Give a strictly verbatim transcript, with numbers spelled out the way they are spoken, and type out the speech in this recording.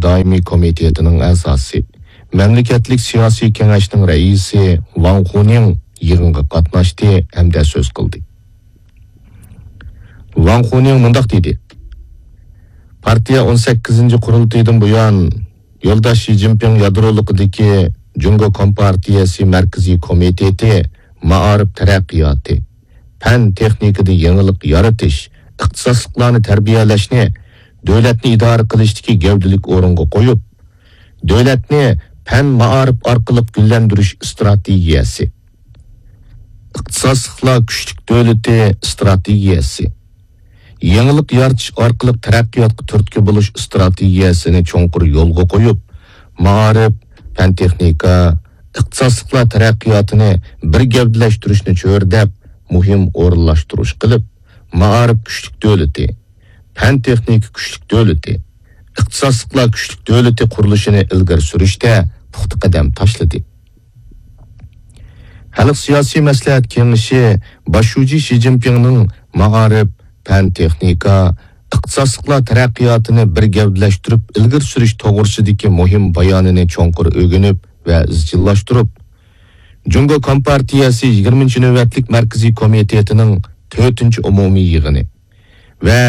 دائىمىي كومىتېتىنىڭ ئەزاسى، مەملىكەتلىك سىياسىي كېڭەشنىڭ رەئىسى ۋاڭ خۇنىڭ يىغىنغا قاتناشتى ھەمدە سۆز قىلدى. ۋاڭ خۇنىڭ مۇنداق دېدى: پارتىيە ئون سەككىزىنچى قۇرۇلتىيىدىن بۇيان، يولداش شى جىنپىڭ يادرولۇقىدىكى جۇڭگو كومپارتىيەسى مەركىزىي كومىتېتى مائارىپ تەرەققىياتى، پەن تېخنىكىدا يېڭىلىق يارىتىش، ئىختىساسلىقلارنى تەربىيەلەشنى دۆلەتنى ئىدارە قىلىشتىكى گەۋدىلىك ئورۇنغا قويۇپ، دۆلەتنى پەن مائارىپ ئارقىلىق گۈللەندۈرۈش ئىستراتېگىيەسى، ئىختىساسلىقلار كۈچلۈك دۆلىتى ئىستراتېگىيەسى، يېڭىلىق يارىتىش ئارقىلىق تەرەققىياتقا تۈرتكە بولۇش ئىستراتېگىيەسىنى چوڭقۇر يولغا قويۇپ، مائارىپ، پەن-تېخنىكا، ئىختىساسلىقلار تەرەققىياتىنى بىر گەۋدىلەشتۈرۈشنى چۆرىدەپ، مۇھىم ئورۇنلاشتۇرۇش قىلىپ، مائارىپ كۈچلۈك دۆلىتى، پەن-تېخنىكا كۈچلۈك دۆلىتى، ئىختىساسلىقلار كۈچلۈك دۆلىتى قۇرۇلۇشىنى ئىلگىرى سۈرۈشتە پۇختا قەدەم تاشلىدى. خەلق سىياسىي مەسلىھەت كېڭىشى باش شۇجى شى جىنپىڭنىڭ مائارىپ، پەن-تېخنىكا، ئىختىساسلىقلار تەرەققىياتىنى بىر گەۋدىلەشتۈرۈپ ئىلگىرى سۈرۈش توغرىسىدىكى مۇھىم بايانىنى چوڭقۇر ئۆگىنىپ ۋە ئىزچىللاشتۇرۇپ، جۇڭگو كومپارتىيەسى يىگىرمىنچى نۆۋەتلىك مەركىزىي كومىتېتىنىڭ تۆتىنچى ئومۇمىي يىغىنى ۋە